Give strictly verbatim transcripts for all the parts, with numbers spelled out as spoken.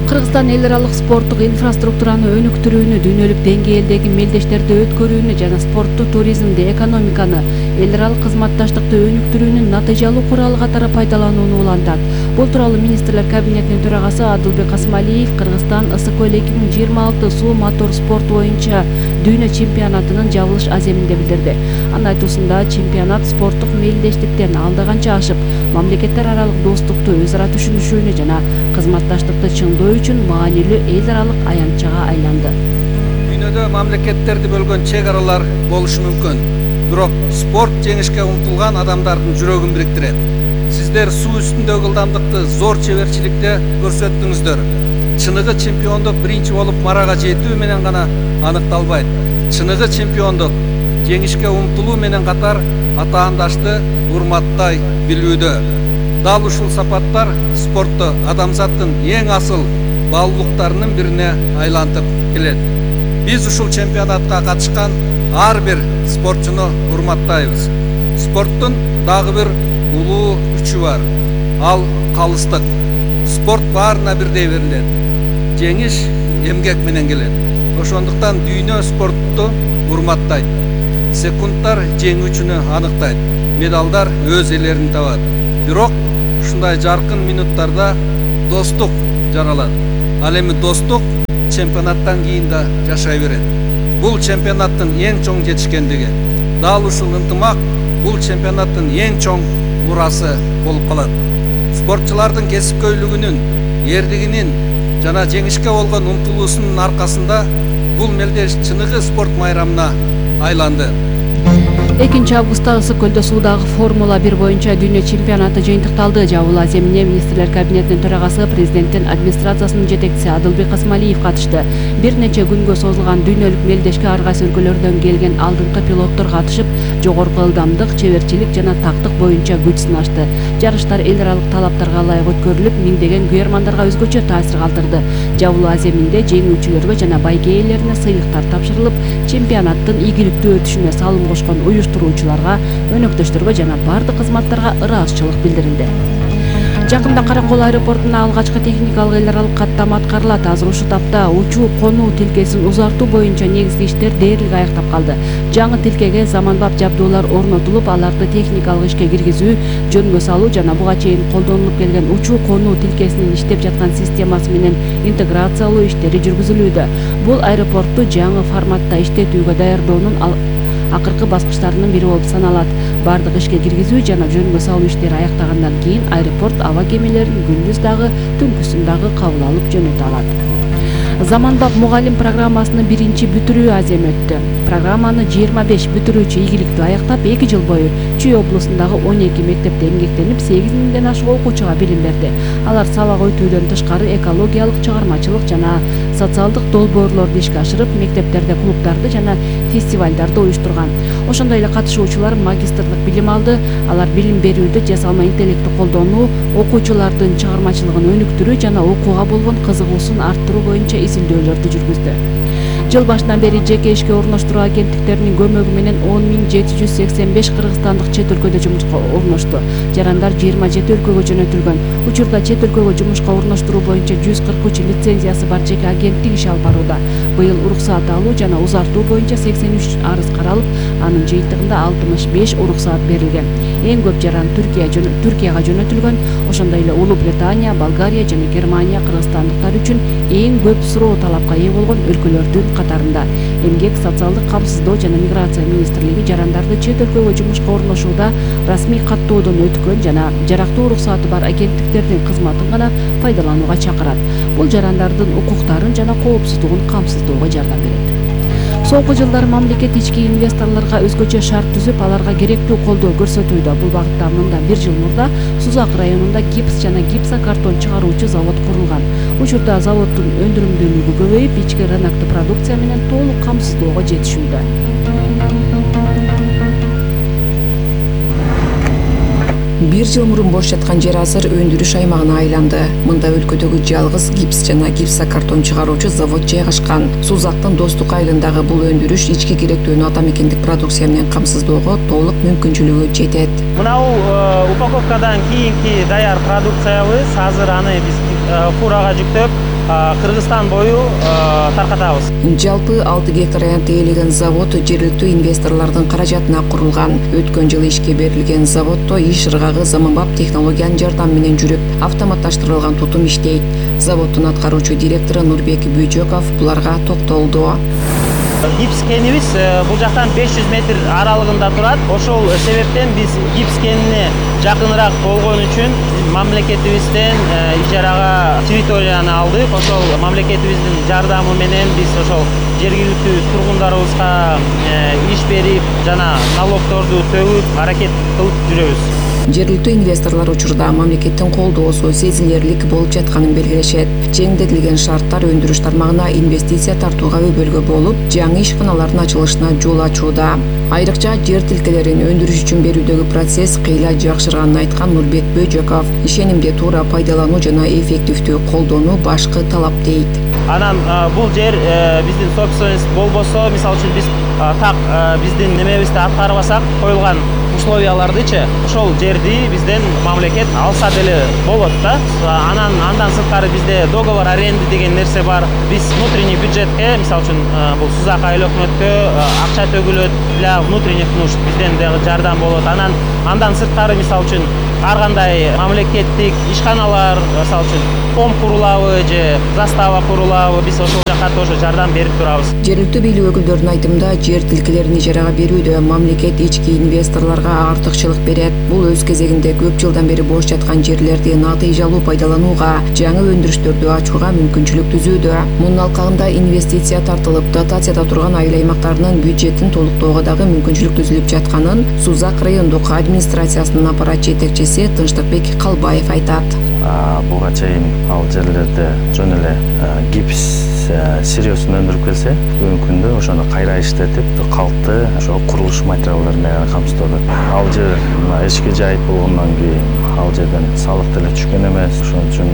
Кыргызстан эл аралык спорттук инфраструктураны өнүктүрүүнү, дүйнөлүк деңгээлдеги мелдештерди өткөрүүнү жана спортту, туризмди, экономиканы, эл аралык кызматташтыкты өнүктүрүүнүн натыйжалуу куралы катары пайдаланууну улантат. Бул тууралуу министрлер кабинетинин төрагасы Адылбек Асмалиев Кыргызстан ысык көл эки миң жыйырма алты суу мотор спорту боюнча дүйнө чемпионатынын жабылыш аземинде билдирди. Анын айтуусунда чемпионат спорттук мелдештиктен алда канча ашып, мамлекеттер аралык достукту, өз ара түшүнүшүүнү жана кызматташтыкты чыңдоо үчүн маанилүү эл аралык аянтчага айланды. Дүйнөдө мамлекеттерди бөлгөн чек аралар болушу мүмкүн, бирок спорт жеңишке умтулган адамдардын жүрөгүн бириктирет. Сиздер суу үстүндөгү ылдамдыкты зор чеберчиликте көрсөттүңүздөр. Чыныгы чемпиондук биринчи болуп марага жетүү менен гана аныкталбайт. Чыныгы чемпиондук жеңишке умтулуу менен катар атаандашты урматтай билүүдө. Дал ушул сапаттар спортто адамзаттын эң асыл баалуулуктарынын бирине айлантып келет. Биз ушул чемпионатка катышкан ар бир спортчуну урматтайбыз. Спорттун дагы бир улуу күчү бар. Ал калыстык. Спорт баарына бирдей берилет. Жеңиш эмгек менен келет. Ошондуктан дүйнө спортту урматтайт. Секундтар жеңүүчүнү аныктайт. Медалдар өз элерин табат. Бирок ушундай жаркын минуттарда достук жаралат. Ал эми достук чемпионаттан кийин да жашай берет. Бул чемпионаттын эң чоң жетишкендиги. Дал ушул ынтымак бул чемпионаттын эң чоң мурасы болуп калат. Спортчулардын кесипкөйлүгүнүн, эрдигинин жана жеңишке болгон умтулуусунун аркасында бул мелдеш чыныгы спорт майрамына айланды. экинчи августта ысык көлдө суудагы Формула бир боюнча дүйнө чемпионаты жыйынтыкталды. Жабылуу аземине министрлер кабинетинин төрагасы, президенттин администрациясынын жетекчиси Адылбек Асмалиев катышты. Бир нече күнгө созулган дүйнөлүк мелдешке ар кайсы өлкөлөрдөн келген алдыңкы пилоттор катышып, жогорку ылдамдык, чеберчилик жана тактык боюнча күч сынашты. Жарыштар эл аралык талаптарга ылайык өткөрүлүп, миңдеген күйөрмандарга өзгөчө таасир калтырды. Жабылуу аземинде жеңүүчүлөргө жана байге ээлерине сыйлыктар тапшырылып, чемпионаттын ийгиликтүү өтүшүнө салым кошкон уюштуруучуларга, өнөктөштөргө жана бардык кызматтарга ыраазычылык билдирилди. Жакында Каракол аэропортуна алгачкы техникалык эл аралык каттама аткарылат. Азыр ушул тапта учуу-конуу тилкесин узартуу боюнча негизги иштер дээрлик аяктап калды. Жаңы тилкеге заманбап жабдуулар орнотулуп, аларды техникалык ишке киргизүү, жөнгө салуу жана буга чейин колдонулуп келген учуу-конуу тилкесинин иштеп жаткан системасы менен интеграциялоо иштери жүргүзүлүүдө. Бул аэропортту жаңы форматта иштетүүгө даярдоонун акыркы баскычтарынын бири болуп саналат. Бардык ишке киргизүү жана жөнгө салуу иштери аяктагандан кийин аэропорт аба кемелерин күндүз дагы, түнкүсүн дагы кабыл алып жөнөтө алат. Заманбап мугалим программасынын биринчи бүтүрүү азем өттү. Программаны жыйырма беш бүтүрүүчү ийгиликтүү аяктап, эки жыл бою Чүй облусундагы он эки мектепте эмгектенип, сегиз миңден ашык окуучуга билим берди. Алар сабак өтүүдөн тышкары экологиялык, чыгармачылык жана социалдык долбоорлорду ишке ашырып, мектептерде клубдарды жана фестивалдарды уюштурган. Ошондой эле катышуучулар магистрлык билим алды. Алар билим берүүдө жасалма интеллектти колдонуу, окуучулардын чыгармачылыгын өнүктүрүү жана окууга болгон кызыгуусун арттыруу боюнча изилдөөлөрдү жүргүздү. Жыл башынан бери жеке ишке орноштуруу агенттиктеринин көмөгү менен он миң жети жүз сексен беш кыргызстандык чет өлкөдө жумушка орношту. Жарандар жыйырма жети өлкөгө жөнөтүлгөн. Учурда чет өлкөгө жумушка орноштуруу боюнча жүз кырк үч лицензиясы бар жеке агенттик иш алып барууда. Быйыл уруксаат алуу жана узартуу боюнча сексен үч арыз каралып, анын жыйынтыгында алтымыш беш уруксаат берилген. Эң көп жаран Түркия Түркияга жөнөтүлгөн. Ошондой эле Улуу Британия, Болгария жана Германия кыргызстандыктар үчүн эң көп суроо талапка ээ болгон өлкөлөрдүн катарында. Эмгек, социалдык камсыздоо жана миграция министрлиги жарандарды чет өлкөгө жумушка орношууда расмий каттоодон өткөн жана жарактуу уруксааты бар агенттиктердин кызматын гана пайдаланууга чакырат. Бул жарандардын укуктарын жана коопсуздугун камсыздоого жардам берет. Соңку жылдары мамлекет ички инвесторлорго өзгөчө шарт түзүп, аларга керектүү колдоо көрсөтүүдө. Бул багытта мындан бир жыл мурда Сузак районунда гипс жана гипсокартон чыгаруучу завод курулган. Учурда заводдун өндүрүмдүүлүгү көбөйүп, ички рынокту продукция менен толук камсыздоого жетишүүдө. Бир жыл мурун бош жаткан жер азыр өндүрүш аймагына айланды. Мында өлкөдөгү жалгыз гипс жана гипсокартон чыгаруучу завод жайгашкан. Сузактын Достук айылындагы бул өндүрүш ички керектүүнү ата мекендик продукция менен камсыздоого толук мүмкүнчүлүгү жетет. Мынау упаковкадан кийинки даяр продукциябыз азыр аны биз фурага жүктөп Кыргызстан бою таркатабыз. Жалпы алты гектар аянтты ээлеген завод жергиликтүү инвесторлордун каражатына курулган. Өткөн жылы ишке берилген заводдо иш ыргагы заманбап технологиянын жардамы менен жүрүп, автоматташтырылган тутум иштейт. Заводдун аткаруучу директору Нурбек Бөжөков буларга токтолду. Гипс кенибиз бул жактан беш жүз метр аралыгында турат. Ошол себептен биз гипс кенине жакыныраак болгон үчүн мамлекетибизден ижарага территорияны алдык. Ошол мамлекетибиздин жардамы менен биз ошол жергиликтүү тургундарыбызга иш берип жана налогторду төгүп аракет кылып жүрөбүз. Жергиликтүү инвесторлор учурда мамлекеттин колдоосу сезилерлик болуп жатканын белгилешет. Жеңилдетилген шарттар өндүрүш тармагына инвестиция тартууга өбөлгө болуп, жаңы ишканалардын ачылышына жол ачууда. Айрыкча жер тилкелерин өндүрүш үчүн берүүдөгү процесс кыйла жакшырганын айткан Нурбек Бөжөков, ишенимди туура пайдалануу жана эффективдүү колдонуу башкы талап дейт. Анан бул жер биздин собственность болбосо, мисалы үчүн биз так биздин немебизди аткарбасак, коюлган условиялардычы ошол жерди бизден мамлекет алса деле болот да. Анан андан сырткары бизде договор аренды деген нерсе бар. Биз внутренний бюджетке, мисалы үчүн бул Сузак айыл өкмөткө акча төгүлөт для внутренних нужд, бизден дагы жардам болот. Анан андан сырткары мисалы үчүн ар кандай мамлекеттик ишканалар, мисалы үчүн фонд курулабы же застава курулабы, биз ошол жака тоже жардам берип турабыз. Жергиликтүү бийлик өкүлдөрүнүн айтымында, жер тилкелерин ижарага берүүдө мамлекет ички инвесторлорго артыкчылык берет. Бул өз кезегинде көп жылдан бери бош жаткан жерлерди натыйжалуу пайдаланууга, жаңы өндүрүштөрдү ачууга мүмкүнчүлүк түзүүдө. Мунун алкагында инвестиция тартылып, дотацияда турган айыл аймактарынын бюджетин толуктоого дагы мүмкүнчүлүк түзүлүп жатканын Сузак райондук администрациясынын аппарат жетекчиси Тынчтыкбек Калбаев айтат. Буга чейин ал жерлерде жөн эле гипс сырьёсун өндүрүп келсе, бүгүнкү күндө ошону кайра иштетип, калкты ошо курулуш материалдары менен камсыздоодо. Ал жер мына эчки жайыт болгондон кийин ал жерден салык деле түшкөн эмес. Ошон үчүн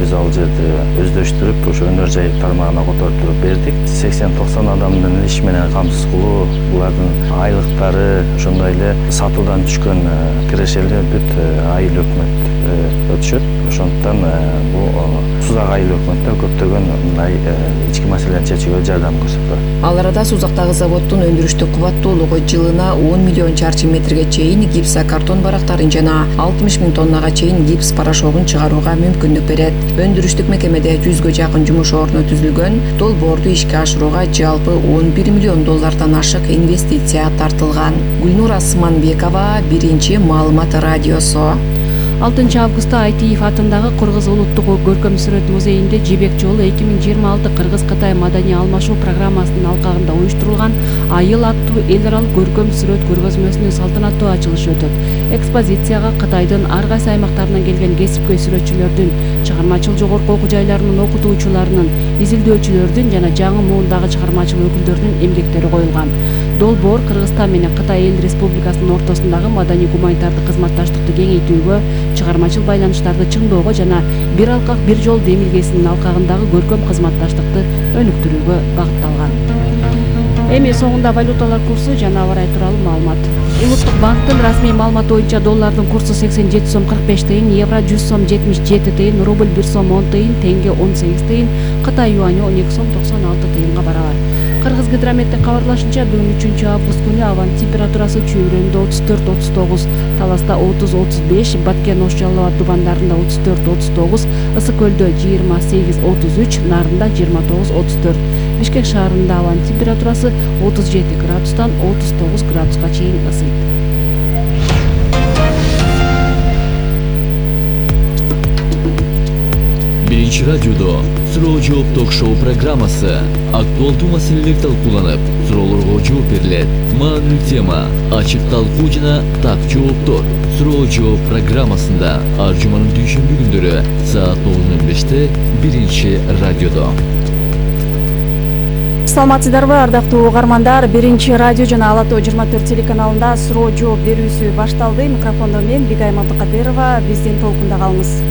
биз ал жерди өздөштүрүп, ошо өнөр жайыт тармагына которуп туруп бердик. сексен токсон адамдын иш менен камсыз кылуу, булардын айлыктары, ошондой эле сатуудан түшкөн кирешели бүт айыл өкмөт өтүшөт. Ошондуктан бул Сузак айыл өкмөттө көптөгөн мындай ички маселелерди чечүүгө жардам көрсөттү. Ал арада Сузактагы заводдун өндүрүштүк кубаттуулугу жылына он миллион чарчы метрге чейин гипсокартон барактарын жана алтымыш миң тоннага чейин гипс порошогун чыгарууга мүмкүндүк берет. Өндүрүштүк мекемеде жүзгө жакын жумуш орну түзүлгөн. Долбоорду ишке ашырууга жалпы он бир миллион доллардан ашык инвестиция тартылган. Гүлнур Асманбекова, Биринчи маалымат радиосу. алтынчы августта Айтиев атындагы Кыргыз улуттук көркөм сүрөт музейинде Жибек жолу эки миң жыйырма алты Кыргыз-Кытай маданий алмашуу программасынын алкагында уюштурулган Айыл аттуу эл аралык көркөм сүрөт көргөзмөсүнүн салтанаттуу ачылышы өтөт. Экспозицияга Кытайдын ар кайсы аймактарынан келген кесипкөй сүрөтчүлөрдүн, чыгармачыл жогорку окуу жайларынын окутуучуларынын, изилдөөчүлөрдүн жана жаңы муундагы чыгармачыл өкүлдөрүнүн эмгектери коюлган. Долбоор Кыргызстан менен Кытай эл республикасынын ортосундагы маданий гуманитардык кызматташтыкты кеңейтүүгө, чыгармачыл байланыштарды чыңдоого жана бир алкак бир жол демилгесинин алкагындагы көркөм кызматташтыкты өнүктүрүүгө багытталган. Эми соңунда валюталар курсу жана аба ырайы тууралуу маалымат. Улуттук банктын расмий маалыматы боюнча доллардын курсу сексен жети сом кырк беш тыйын, евро жүз сом жетимиш жети тыйын, рубль бир сом он тыйын, тенге он сегиз тыйын, Кытай юаню он эки сом токсон алты тыйынга барабар. Кыргыз гидрометтин кабарлашынча, бүгүн үчүнчү август күнү абанын температурасы Чүйрөндө отуз төрт отуз тогуз, Таласта отуз отуз беш, Баткен Ош Жалал абад Дубандарында отуз төрт отуз тогуз, Ысык көлдө жыйырма сегиз отуз үч, Нарында жыйырма тогуз отуз төрт. Бишкек шаарында абанын температурасы отуз жети градустан отуз тогуз градуска чейин ысыйт. Биринчи радиодо суроо жооп ток-шоу программасы актуалдуу маселелер талкууланып, суроолорго жооп берилет. Маанилүү тема, ачык талкуу жана так жооптор. Суроо жооп программасында ар жуманын дүйшөмбү күндөрү саат тогуз ноль беште Биринчи радиодо. Саламатсыздарбы, ардактуу угармандар? Биринчи радио жана Ала Тоо жыйырма төрт телеканалында суроо жооп берүүсү башталды. Микрофондо мен Бигай Мамтыкадырова. Биздин толкунда калыңыз.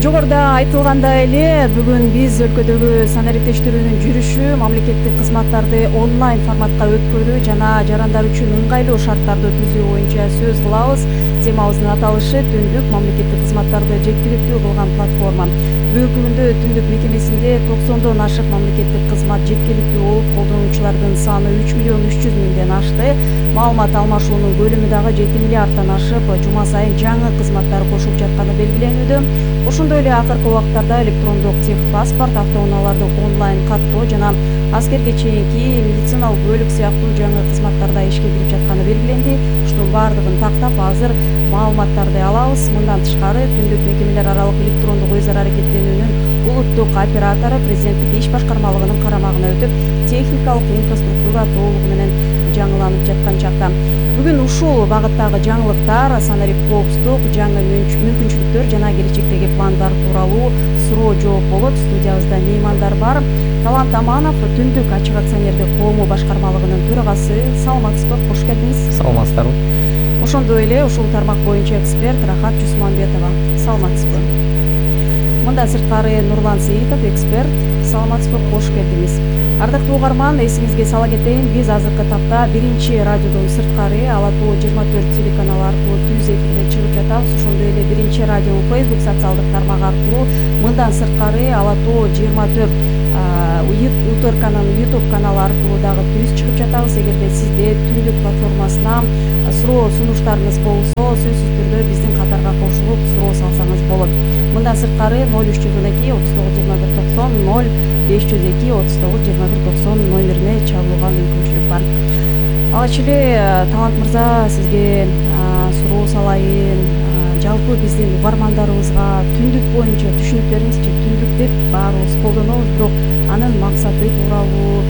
Жогоруда айтылгандай эле бүгүн биз өлкөдөгү санариптештирүүнүн жүрүшү, мамлекеттик кызматтарды онлайн форматка өткөрүү жана жарандар үчүн ыңгайлуу шарттарды түзүү боюнча сөз кылабыз. Темабыздын аталышы түндүк мамлекеттик кызматтарды жеткиликтүү кылган платформа. Бүгүнкү күндө түндүк мекемесинде токсондон ашык мамлекеттик кызмат жеткиликтүү болуп, колдонуучулардын саны үч миллион үч жүз миңден ашты. Маалымат алмашуунун көлөмү дагы жети миллиардтан ашып, жума сайын жаңы кызматтар кошулуп жатканы белгиленүүдө. Ошондой эле акыркы убактарда электрондук техпаспорт, автоунааларды онлайн каттоо жана аскерге чейинки медициналык бөлүк сыяктуу жаңы кызматтар да ишке кирип жатканы белгиленди. Ушунун баардыгын тактап азыр маалыматтарды алабыз. Мындан тышкары түндүк мекемелер аралык электрондук өз ара аракеттенүүнүн улуттук оператору президенттик иш башкармалыгынын карамагына өтүп, техникалык инфраструктура толугу менен жаңыланып жаткан чакта бүгүн ушул багыттагы жаңылыктар, санарип коопсуздук, жаңы мүмкүнчүлүктөр жана келечектеги пландар тууралуу суроо жооп болот. Студиябызда меймандар бар. Талант Аманов, Түндүк ачык акционердик коому башкармалыгынын төрагасы. Саламатсызбы? Кош келдиңиз. Саламатсыздарбы? Ошондой эле ушул тармак боюнча эксперт Рахат Жусманбетова. Саламатсызбы? Мындан сырткары Нурлан Сейитов, эксперт. Саламатсызбы? Кош келдиңиз. Ардактуу угарман, эсиңизге сала кетейин, биз азыркы тапта биринчи радиодон сырткары Ала Тоо жыйырма төрт телеканалы аркылуу түз эфирде чыгып жатабыз. Ошондой эле биринчи радионун Facebook социалдык тармагы аркылуу, мындан сырткары Ала Тоо жыйырма төрт Утурканын YouTube каналы аркылуу дагы түз чыгып жатабыз. Эгерде сизде Түндүк платформасына суроо сунуштарыңыз болсо, сөзсүз түрдө биздин катарга кошулуп суроо салсаңыз болот. Мындан сырткары ноль үч жүз он эки отуз тогуз жыйырма бир токсон, ноль беш жүз эки отуз тогуз жыйырма бир токсон номерине чалууга мүмкүнчүлүк бар. Алгач эле Талант мырза, сизге суроо салайын. Жалпы биздин угармандарыбызга түндүк боюнча түшүнүп бериңизчи. Түндүк деп баарыбыз колдонобуз, бирок анын максаты тууралуу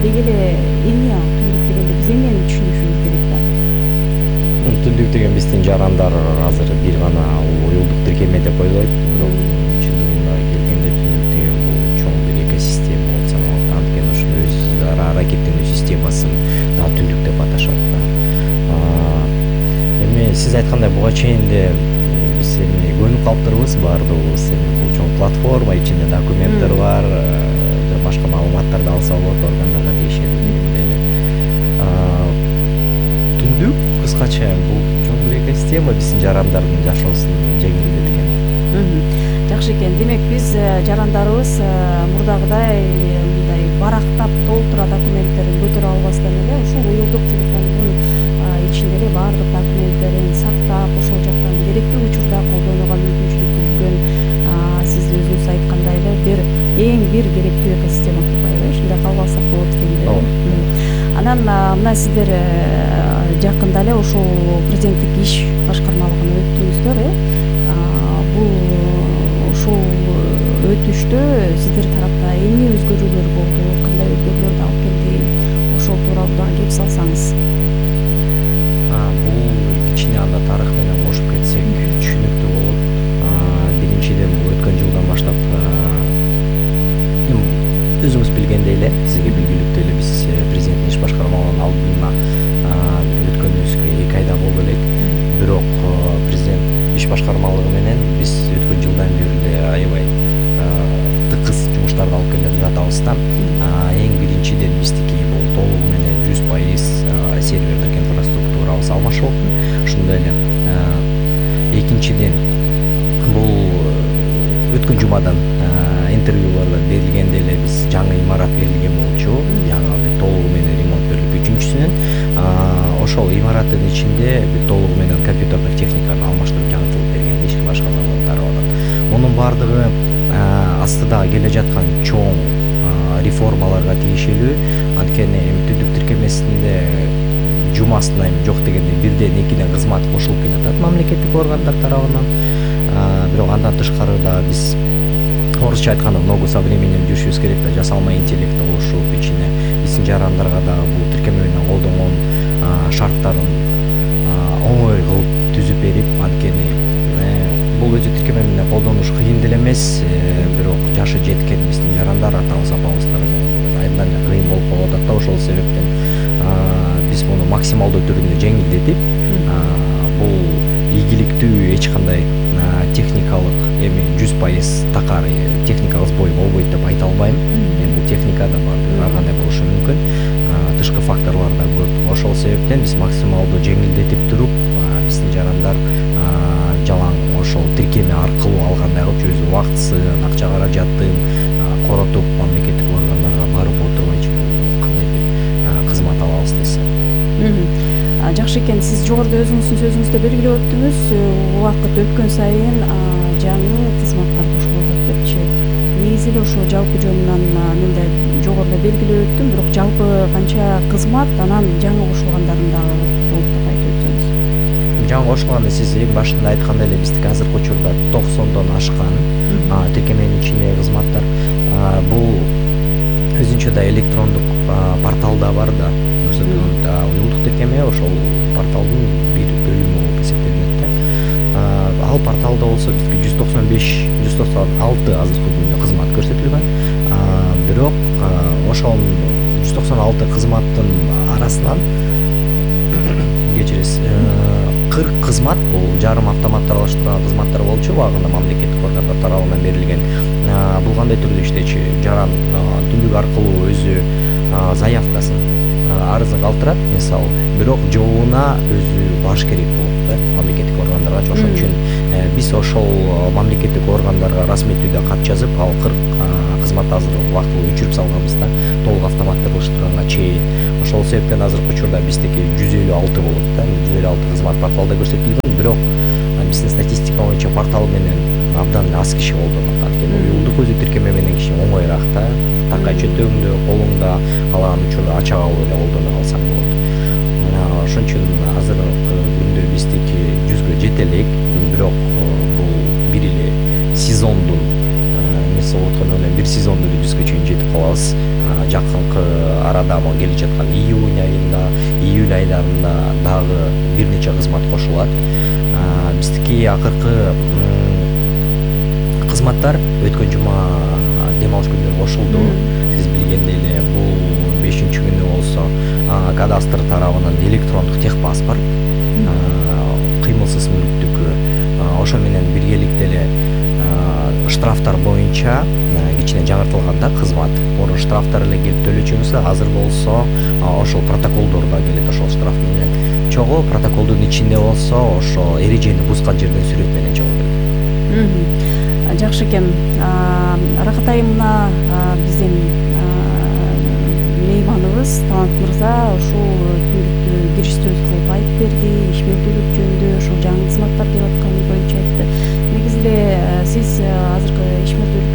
деги эле эмне түндүк дегенде биз эмнени түшүнүшүбүз керек да? Түндүк деген биздин жарандар азыр бир гана уюлдук тиркеме деп ойлойт, бирок чындыгында келгенде түндүк деген бул чоң бир экосистема болуп саналат. Анткени ошол өз ара аракеттенүү системасын да түндүк деп аташат да. Эми сиз айткандай буга чейин эле биз эми көнүп калыптырбыз баардыгыбыз. Эми бул чоң платформа, ичинде документтер бар, жана башка маалыматтарды алса болот, органдарга тиешелүү дегендей эле. Түндүк кыскача бул чоң бир экосистема биздин жарандардын жашоосун жеңилдеткен. Жакшы экен. Демек биз жарандарыбыз мурдагыдай мындай барактап толтура документтерин көтөрө албастан эле ушул уюлдук телефондун ичинде эле баардык документтерин сактап, ошол жактан керектүү учурда колдонууга мүмкүнчүлүк түзүлгөн. Сиз өзүңүз айткандай эле бир эң бир керектүү экосистема турбайбы? Ушундай кабыл алсак болот экен да. Анан мына сиздер жакында эле ошол президенттик иш башкармалыгына өттүңүздөр, э? Бул ошол өтүштө сиздер тарапта эмне өзгөрүүлөр болду, кандай өзгөрүүлөрдү алып келди? Ошол тууралуу дагы кеп салсаңыз. Бул кичине анда тарых менен кошуп кетсек түшүнүктүү болот. Биринчиден бул өткөн жылдан баштап өзүңүз билгендей эле, сизге белгилүү эле биз президенттик иш башкармалыгынын алдына өткөнүбүзгө эки айда болду элек. Бирок президент иш башкармалыгы менен биз өткөн жылдан бери эле аябай тыкыз жумуштарды алып келе жатабыз да. Эң биринчиден биздики бул толугу менен жүз пайыз сервердик инфраструктурабыз алмашып. Ошондой эле экинчиден бул өткөн жумадан интервьюларда берилгенде эле биз жаңы имарат берилген болчу, жаңы бир толугу менен ремонт берилип үчүнчүсүнөн ошол имараттын ичинде бир толугу менен компьютердик техниканы алмаштырып жаңыртылып берген ишке башкармалыгы тарабынан. Мунун баардыгы астыда келе жаткан чоң реформаларга тиешелүү. Анткени эми түндүк тиркемесинде жумасына эми жок дегенде бирден экиден кызмат кошулуп келатат мамлекеттик органдар тарабынан. Бирок андан тышкары да биз орусча айтканда ногу со временем жүрүшүбүз керек да, жасалма интеллектти кошуп ичине биздин жарандарга дагы бул тиркеме менен колдонгон шарттарын оңой кылып түзүп берип, анткени бул өзү тиркеме менен колдонуш кыйын деле эмес, бирок жашы жеткен биздин жарандар атабыз апабыздар айдан кыйын болуп калып атат да. Ошол себептен биз муну максималдуу түрүндө жеңилдетип, бул ийгиликтүү эч кандай техникалык эми жүз пайыз такар техникалык сбой болбойт деп айта албайм. Эми бул техникада бар, ар кандай болушу мүмкүн. Тышкы факторлор да көп. Ошол себептен биз максималдуу жеңилдетип туруп, биздин жарандар жалаң ошол тиркеме аркылуу алгандай кылып өз убактысын, акча каражатын коротуп мамлекеттик органдарга барып отурбайчы кандай бир кызмат алабыз десе. Жакшы экен. Сиз жогоруда өзүңүздүн сөзүңүздө белгилеп өттүңүз, убакыт өткөн сайын жаңы кызматтар кошулуп атат депчи. Негизи эле ошо жалпы жөнүнөн мен да жогоруда белгилеп өттүм, бирок жалпы канча кызмат, анан жаңы кошулгандарын дагы толуктап айтып өтсөңүз. Жаңы кошулганда сиз эң башында айткандай эле биздики азыркы учурда токсондон ашкан тиркеменин ичиндеги кызматтар. Бул өзүнчө да электрондук порталда бар да, уюлдук тиркеме ошол порталдын бир бөлүмү болуп эсептелинет да. Ал порталда болсо бизге жүз токсон беш жүз токсон алты азыркы күндө кызмат көрсөтүлгөн. Бирок ошол жүз токсон алты кызматтын арасынан кечиресиз кырк кызмат бул жарым автоматташтырылган кызматтар болчу, убагында мамлекеттик органдар тарабынан берилген. Бул кандай түрдө иштечү? Жаран түндүк аркылуу өзү заявкасын, арызын калтырат, мисалы, бирок жообуна өзү баш керек болот да мамлекеттик органдарга. Ошон үчүн биз ошол мамлекеттик органдарга расмий түрдө кат жазып, ал кырк кызмат азыр убактылуу өчүрүп салганбыз да, толук автоматташтырганга чейин. Ошол себептен азыркы учурда биздики жүз элүү алты болот да, жүз элүү алты кызмат порталда көрсөтүлгөн. Бирок биздин статистика боюнча портал менен абдан аз киши колдонот. Анткени уюлдук өзү тиркеме менен киши оңоюраак да, такай чөтөгүңдө, колуңда калаган учурда ача алып эле колдоно алсаң болот. Ошон үчүн азыркы күндө биздики жүзгө жете элек, бирок бул бир эле сезондун эмеси болуп аткан менен бир сезондо эле жүзгө чейин жетип калабыз. Жакынкы арада могу келе жаткан июнь айында, июль айларында дагы бир нече кызмат кошулат. Биздики акыркы кызматтар өткөн жума дем алыш күнүнө кошулду. Сиз билгендей эле бул бешинчи күнү болсо кадастр тарабынан электрондук техпаспорт, кыймылсыз мүлктүккө, ошо менен биргеликте эле штрафтар боюнча кичине жаңыртылган да кызмат. Мурун штрафтар эле келип төлөчүбүз, азыр болсо ошол протоколдор да келет ошол штраф менен. Чогуу протоколдун ичинде болсо ошо эрежени бузган жерден сүрөт менен чогуу келет. Жакшы экен. Рахат айым, мына биздин мейманыбыз Талант мырза ушул түндүктү кириш сөз кылып айтып берди, ишмердүүлүк жөнүндө ошол жаңы кызматтар деп атканы боюнча айтты. Негизи эле сиз азыркы ишмердүүлүк